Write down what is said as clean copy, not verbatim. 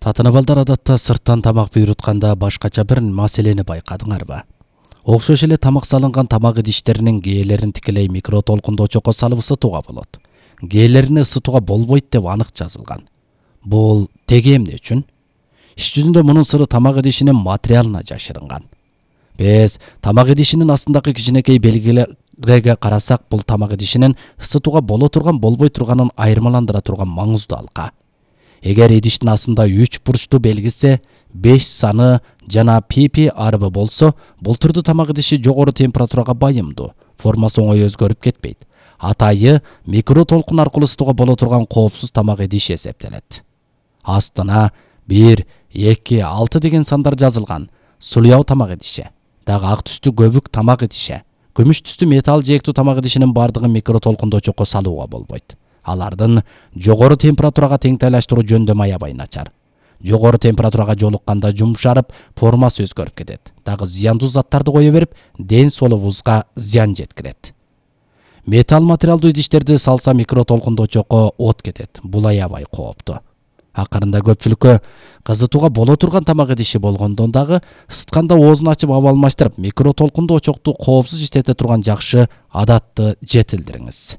Татынабалдар адатта сырттан тамак буйрутканда башкача бир маселени байкадыңарбы? Окшош эле тамак салынган тамак идиштеринин кээлерин тикелей микротолкундоочокко салып ысытууга болот. Кээлерин ысытууга болбойт деп анык жазылган. Бул теги эмне үчүн? Иш жүзүндө мунун сыры тамак идишинин материалына жашырынган. Биз тамак идишинин астындагы кичинекей белгилерге карасак, бул тамак идишинин ысытууга боло турган, болбой турганын айырмаландыра турган маңыздуу алка. Эгер идиштин астында 3 бурчтуу белгиси, 5 саны жана пипи арбы болсо, бул түрдүү тамак идиши жогору температурага байымдуу, формасы оңой өзгөрүп кетпейт. Атайы микротолкун аркылуу ысытууга боло турган коопсуз тамак идиш эсептелет. Астына 1, 2, 6 деген сандар жазылган. Сулуяу тамак идиши, дагы ак түстүү көбүк тамак идиши, күмүш түстүү металл жээктүү тамак идишинин бардыгын микротолкундоочокко салууга болбойт. Алардын жогору температурага теңтайлаштыруу жөндөмү аябай начар. Жогору температурага жолукканда жумшарып, формасы өзгөрүп кетет. Дагы зыяндуу заттарды кое берип, ден соолугубузга зыян жеткирет. Металл материалдуу идиштерди салса микротолкундоочокко от кетет. Бул аябай кооптуу. Акырында көпчүлүккө кызытууга боло турган тамак идиши болгондон дагы ысытканда оозун ачып аба алмаштырып, микротолкундоочокту коопсуз иштете турган жакшы адатты жетилдириңиз.